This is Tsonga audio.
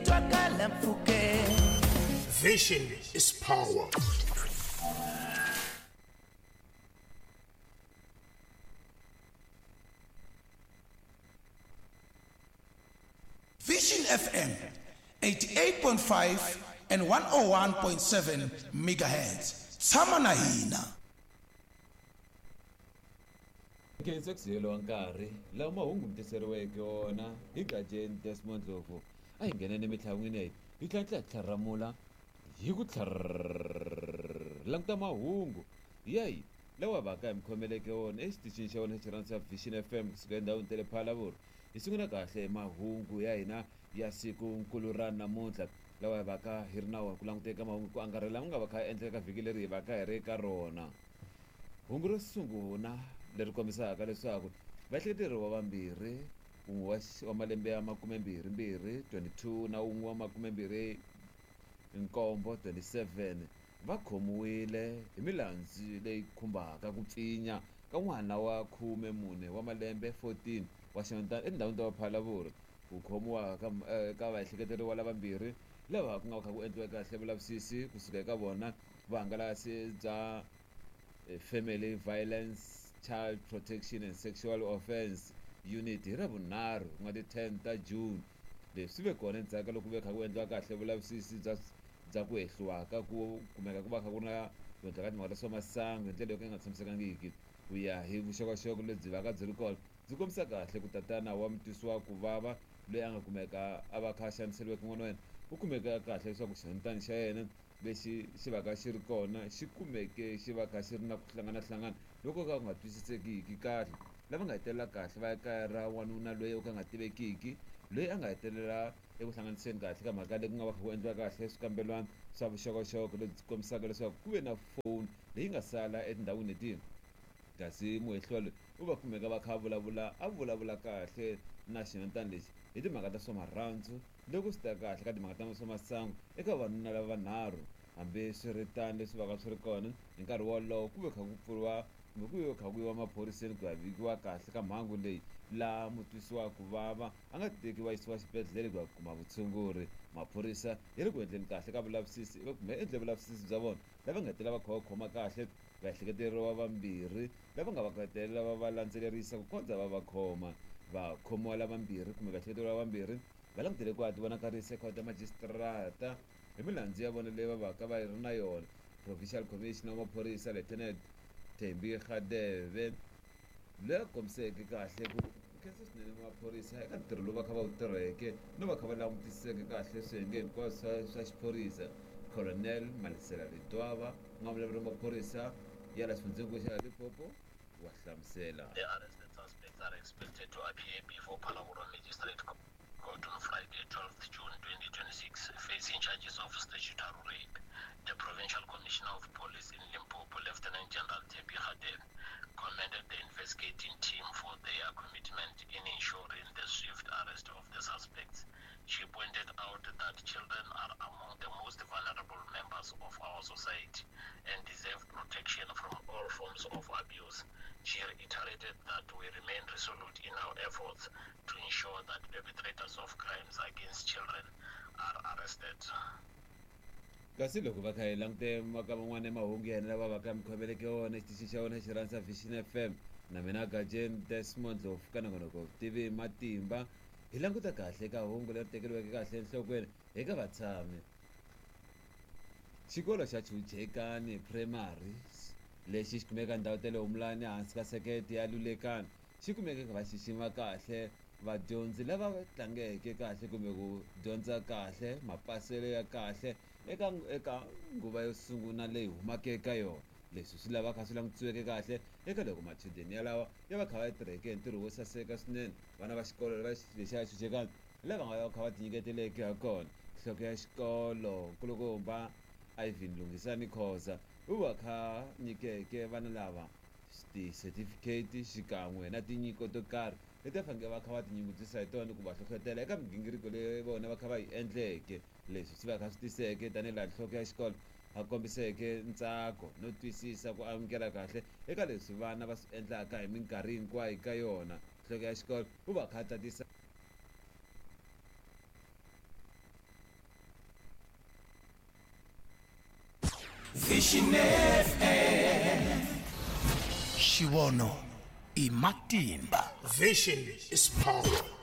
twakala mpfhukeni. Vision is power. Vision FM 88.5 and 101.7 megahertz. Tshama na hina. Khensa ku siveriwa nkarhi lawa mahungu mi tiseriweke wona hi Gajeni Desmond Ndlovu. A hi ngheneni emitlhangwini ya hina hi tlhela hi tlharamula hi ku languta mahungu ya hina lawa va ka hi mi khomeleke wona exitichini xa wena xi rhandza Vision FM kusuka endhawini ta le Phalaborwa. Hi sungula kahle mahungu ya hina ya siku nkulu ra namuntlha lawa hi va ka hi ri na wona ku languteka mahungu ku angarhela lama nga va kha endleka vhiki leri hi va ka hi ri ka rona. Hungu ro sungula leri kombisaka leswaku vaehleketeriwa vambirhi, wun'we wa malembe ya makumembirhimbirhi 22 na wun'we wa makumembirhi nkombo 27, va khomiwile hi milandzu leyi khumbaka ku pfinya ka n'wana wa 14 wa malembe 14 wa xinhwanyetana etindhawini ta Phalaborwa. Ku khomiwa ka vaehleketeriwa lavambirhi lava ku nga kha ku endliwa kahle vulavisisi kusuka eka vona vuhangalasi bya Family Violence, Child Protection and Sexual Offence Unit hi Ravunharhu, ku nga ti 10 ta June. Leswi swi ve kona endzhaku ka loko ku ve kha ku endliwa kahle vulavisisi bya ku hehliwa ka ku kumeka ku va kha ku ri na ku endla ka timhaka ta swa masangu hi ndlela yo ka yi nga tshamisekangiki. Ku ya hi vuxokoxoko lebyi va ka byi ri kona, byi kombisa kahle ku tatana wa mutwisiwa ku vava loyi a nga kumeka a va kha a xaniseriweke n'wana wa yena u kumeka kahle leswaku xinhwanyetana xa yena lexi xi va ka xi ri kona xi kumeke xi va kha xi ri na ku hlanganahlangana loko ka ku nga twisisekiki kahle. Lava nga hetelela kahle va ya kaya ra wanuna loyi o ka nga tivekiki, loyi a nga hetelela eku hlanganiseni kahle ka mhaka leyi ku nga va kha ku endliwa kahle swikambelwana swa vuxokoxoko lebyi kombisaka leswaku ku ve na foni leyi nga sala etindhawini leti, kasi muhehliwa loyi u va kumeka va kha a vulavula a vulavula kahle na xinhwanyetana lexi hi timhaka ta swa marhandzu loko swi ta kahle ka timhaka ta swa masangu eka vavanuna lava vanharhu. Hambiswiritano, leswi va ka swi ri kona hi nkarhi wolowo ku ve kha ku pfuriwa kumbe ku ve kha ku yiwa maphoriseni ku ya vikiwa kahle ka mhangu leyi, laha mutwisiwa ku vava a nga tekiwa yisiwa xibedhlele ku ya kuma vutshunguri. Maphorisa ya le ku endleni kahle ka vulavisisi kumbe endle vulavisisi bya vona, lava nga hetelela va kha va khoma kahle vaehleketeriwa vambirhi lava nga va hetelela va va landzelerisa ku kondza va va khoma. Vakhomiwa lavambirhi kumbe vaehleketeriwa vambirhi va langutele ku ya tivonakarisa ekhoto ya majisitarata hi milandzu ya vona leyi va va ka va ri na yona. Provincial Commissioner wa maphorisa, Lieutenant Thembi Radebe, loyi a kombiseke kahle ku khensa swinene maphorisa eka ntirho lowu va kha va wu tirheke no va kha va langutiseke kahle swiyenge hinkwaswo swa xiphorisa. Colonel Malesela Ledwaba, ku nga vulavuri maphorisa ya la xifundzenkulu xa Limpopo, wa hlamusela. The arrested suspects are expected to appear before Phalaborwa Magistrate Court on Friday, 12th June 2026, facing charges of statutory rape. The Provincial Commissioner of Police in Limpopo, Lieutenant General Thembi Radebe, commended the investigating team for their commitment in ensuring the swift arrest of the suspects. She pointed out that children are among the most vulnerable members of our society and deserve protection from all forms of abuse. She reiterated that we remain resolute in our efforts to ensure that perpetrators of crimes against children are arrested. Kasi loko va kha hi langute maka man'wana ya mahungu ya hina lava va ka mi khomeleke wona xitichi xa wona xi rhandza Vision FM na mina Gajeni Desmond Ndlovu ka nongonoko TV Matimba, hi languta kahle ka hungu leri tekeriweke kahle enhlokweni eka vatshami. Xikolo xa Chujekani Primary lexi xi kumeka ndhawu ta le Humulani hansi ka sekete ya Lulekani xi kumeke va xixima kahle vadyondzi lava tlangeke kahle kumbe ku dyondza kahle mapaselo ya kahle eka nguva yo sungula leyi humaka eka yona. Leswi swi lava kha swi langutisiweke kahle eka loko machudeni yalawa ya va kha va tirheke hi ntirho wo saseka swinene, vana va xikolo lava lexiya Chuchekani lava nga va kha va tinyiketeleke ha kona. Nhloko ya xikolo, nkulukumba Ivan Lunghisani Khoza, u va kha nyikeke vana lava ti-certificate xikan'we na tinyiko to karhi leti va fanekele va kha va tinyungubyisa hi tona ku va hlohlotela eka migingiriko leyi vona va kha va yi endleke. Leswi swi va kha swi tiseke tanihi laha nhloko ya xikolo a kombiseke ntsako no twisisa ku amukela kahle eka leswi vana va swi endlaka hi minkarhi hinkwayo ka yona. Nhloko ya xikolo u va kha a tatisa Vision FM. Xivono i matimba. Vision is power.